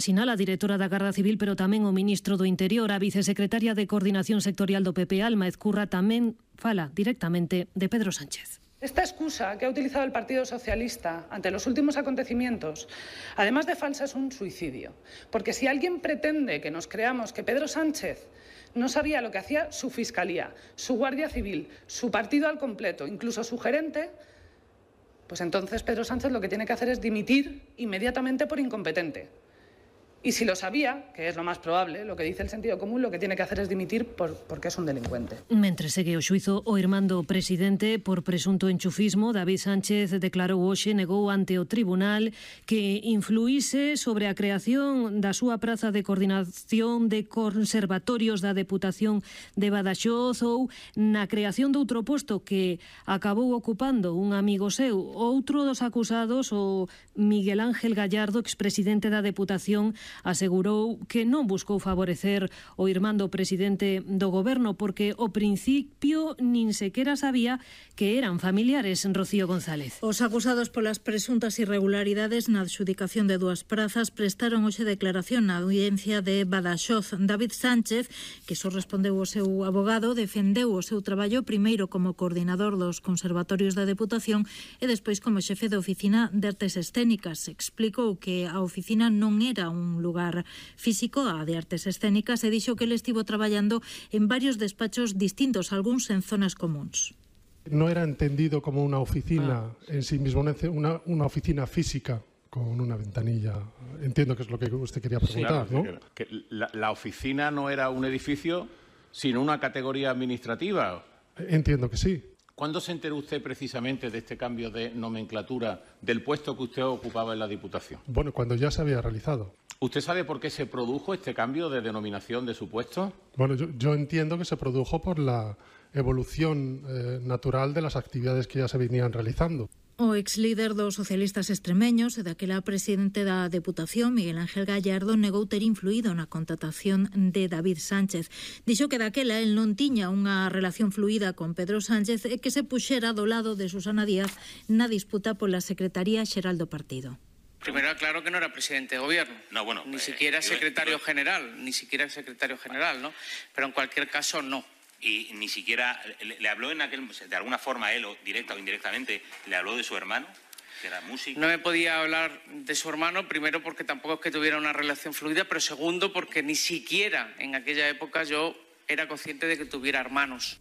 Sinala a directora da Garda Civil, pero tamén o ministro do Interior. A vicesecretaria de Coordinación Sectorial do PP, Alma Ezcurra, tamén fala directamente de Pedro Sánchez. Esta excusa que ha utilizado el Partido Socialista ante los últimos acontecimientos, además de falsa, es un suicidio. Porque si alguien pretende que nos creamos que Pedro Sánchez no sabía lo que hacía su Fiscalía, su Guardia Civil, su partido al completo, incluso su gerente, pues entonces Pedro Sánchez lo que tiene que hacer es dimitir inmediatamente por incompetente. Y si lo sabía, que es lo más probable, lo que dice el sentido común, lo que tiene que hacer es dimitir porque es un delincuente. Mentre segue o xuizo, o irmán do presidente por presunto enchufismo, David Sánchez, declarou hoxe, negou ante o tribunal que influíse sobre a creación da súa praza de coordinación de conservatorios da Deputación de Badaxoz ou na creación de outro posto que acabou ocupando un amigo seu. Outro dos acusados, o Miguel Ángel Gallardo, expresidente da Deputación, asegurou que non buscou favorecer o irmán do presidente do goberno porque ao principio nin sequera sabía que eran familiares. Rocío González. Os acusados polas presuntas irregularidades na adxudicación de dúas prazas prestaron hoxe declaración na audiencia de Badaxoz. David Sánchez, que só respondeu o seu abogado, defendeu o seu traballo primeiro como coordinador dos conservatorios da Deputación e despois como xefe de oficina de artes escénicas. Explicou que a oficina non era un lugar físico, a de artes escénicas, e dixo que ele estivo traballando en varios despachos distintos, algúns en zonas comuns. No era entendido como una oficina en sí mismo, una oficina física con una ventanilla. Entiendo que es lo que usted quería preguntar, sí, claro, ¿no? Que la oficina no era un edificio, sino una categoría administrativa. Entiendo que sí. ¿Cuándo se enteró usted precisamente de este cambio de nomenclatura del puesto que usted ocupaba en la Diputación? Bueno, cuando ya se había realizado. ¿Usted sabe por qué se produjo este cambio de denominación de su puesto? Bueno, yo entiendo que se produjo por la evolución natural de las actividades que ya se venían realizando. O exlíder dos socialistas extremeños e daquela presidente da Deputación, Miguel Ángel Gallardo, negou ter influído na contratación de David Sánchez. Dixo que daquela el non tiña unha relación fluida con Pedro Sánchez e que se puxera do lado de Susana Díaz na disputa pola Secretaría Xeral do partido. Primero aclaro que no era presidente de gobierno, no, bueno, ni siquiera secretario general, ¿no? Pero en cualquier caso no. Y ni siquiera le habló de alguna forma él, o directa o indirectamente, le habló de su hermano, que era músico. No me podía hablar de su hermano, primero porque tampoco es que tuviera una relación fluida, pero segundo porque ni siquiera en aquella época yo era consciente de que tuviera hermanos.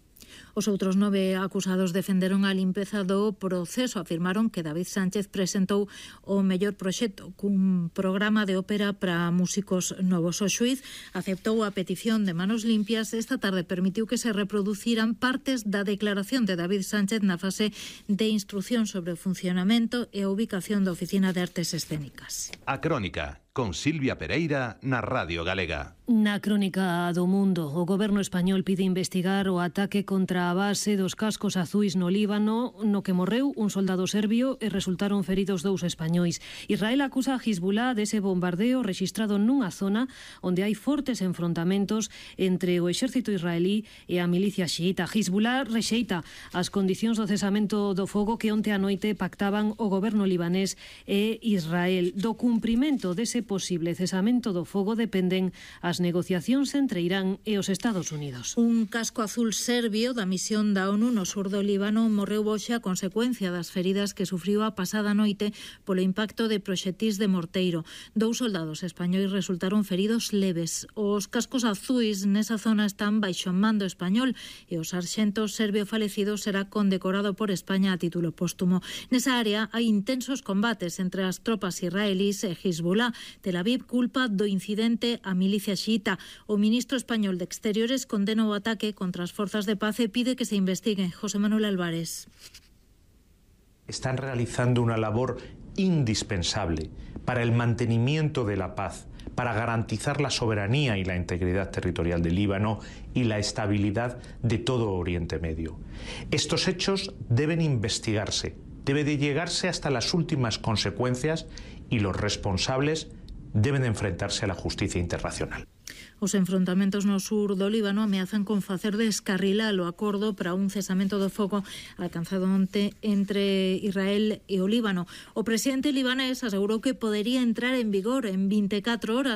Os outros 9 acusados defenderon a limpeza do proceso. Afirmaron que David Sánchez presentou o mellor proxecto cun programa de ópera para músicos novos. O xuiz aceptou a petición de Manos Limpias. Esta tarde permitiu que se reproduciran partes da declaración de David Sánchez na fase de instrucción sobre o funcionamento e a ubicación da Oficina de Artes Escénicas. A Crónica, con Silvia Pereira na Radio Galega. Na crónica do mundo, o goberno español pide investigar o ataque contra a base dos cascos azuis no Líbano, no que morreu un soldado serbio e resultaron feridos 2 españois. Israel acusa a Hezbollah dese bombardeo rexistrado nunha zona onde hai fortes enfrontamentos entre o exército israelí e a milicia xiita. Hezbollah rexeita as condicións do cesamento do fogo que onte a noite pactaban o goberno libanés e Israel. Do cumprimento dese posible cesamento do fogo dependen as negociacións entre Irán e os Estados Unidos. Un casco azul serbio da misión da ONU no sur do Líbano morreu hoxe a consecuencia das feridas que sufriu a pasada noite polo impacto de proxetís de morteiro. 2 soldados españois resultaron feridos leves. Os cascos azuis nesa zona están baixo mando español e o sarxento serbio falecido será condecorado por España a título póstumo. Nesa área hai intensos combates entre as tropas israelís e Hezbollah. Tel Aviv culpa do incidente a milicia xiita. O ministro español de Exteriores condena o ataque contra as forzas de paz e pide que se investigue. José Manuel Álvarez. Están realizando una labor indispensable para el mantenimiento de la paz, para garantizar la soberanía y la integridad territorial del Líbano y la estabilidad de todo Oriente Medio. Estos hechos deben investigarse, debe de llegarse hasta las últimas consecuencias y los responsables deben enfrentarse a la justicia internacional. Os enfrontamentos no sur do Líbano ameazan con facer descarrilar o acordo para un cesamento do fogo alcanzado onte entre Israel e o Líbano. O presidente libanés asegurou que podería entrar en vigor en 24 horas.